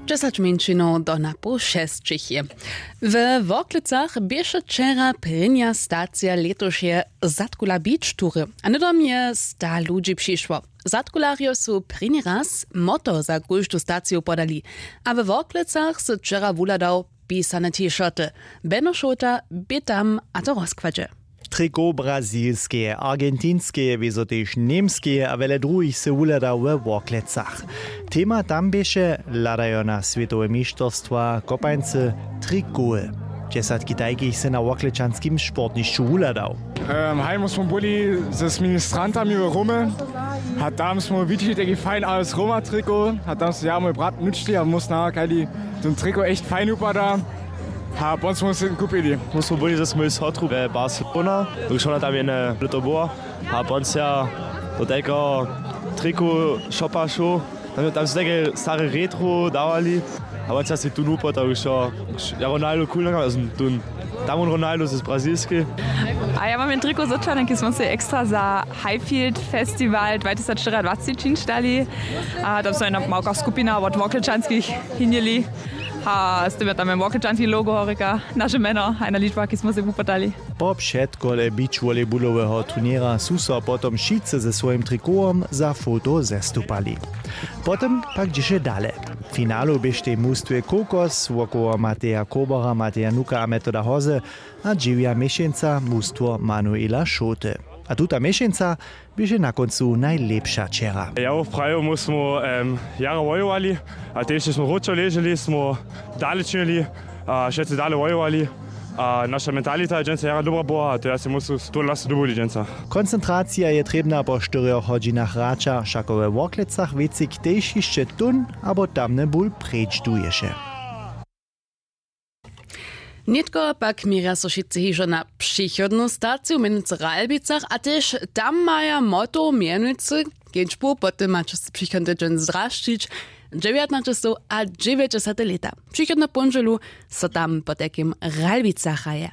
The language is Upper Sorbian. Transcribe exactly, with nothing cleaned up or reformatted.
Dźesać mjeńšinow do na poł šesćich je. We Worklecach běše wčera prěnja stacija lětušeje Zadkula Beach Toury, a hnydom je sta ludźi přišło. Zadkularjo su prěni raz moto za kóždu staciju podali, a we Worklecach sy wčera wuhladał pisane T-shirty. Beno Šołta bě tam a to rozkładźe. Triko brazilskeje, argentinskeje, wězo tež němskeje a wjele druhich sy wuhlada we Worklecach. Tema tam běše: Hladajo na swětowe mišterstwa kopańcy trikowy. Dźesatki tajkich sy na worklečanskim sportnišću wuhladał. Hajmo smo byli z ministrantami w Rome, a tam smo widźeli taki fajn, ale z Roma triko, a tam so ja mój brat nučli a mój snahakali, ten triko echt fajn wupada. A pon smo se kupili. My smo byli ze swojej sotru we Barcelona, dokelž ona tam jedne lěto była. A pon se ja do tego triku shopa šoł. Tam, tam su take stare retro dawali. A pon se ja si tu nupo, tak już jo, ja Ronaldo cool nakam, also tu tam on Ronaldo z brazilskej. A ja mam jen triko z Očany, ki smo se ekstra za Highfield Festival dwa tysac štyriadwacci činšdali. A tam so jedna małka skupina od Worklečanskich hinjeli. A z tym je tam jen Worklečanski logo horika, naše mjeno, a jedna ličba, ki smo se wupodali. Po předkole beachvolleybuloweho turněra su so potom wšitcy ze swojim trikowom za foto zestupali. Potom pak dźěše dale. W finalu běštej mustwje Kokos wokoło Mateja Kobora, Mateja Nuka a Metoda Hoze a dźewja měšeńca mustwo Manuela Šołty. A tuta měšeńca běše na kóncu najlěpša wčera. Ja woprawju, my smo em, jara wojowali, a tež smo wróćo leželi, smo dale činili a wšetcy dale wojowali. A naša mentalita je dźensa jara dobra była a to ja se musu to lasu dubuli dźensa. Koncentracija je trěbna po štyrjoch hodźinach hraća, wšako we Worklecach wěcik tež hišće tón abo tamny bul preč duješe. Nětko pak měrja so wšitcy hižo na přichodnu staciju, mjenujcy w Ralbicach, a tež tam maja moto mjenujcy kedźbu, po tym maće so přichodny tydźeń zdrašćić dźewjatnaćestow a dźewjećdźesate lěta. Přichodnu póndźelu so tam potajkim w Ralbicach hraje.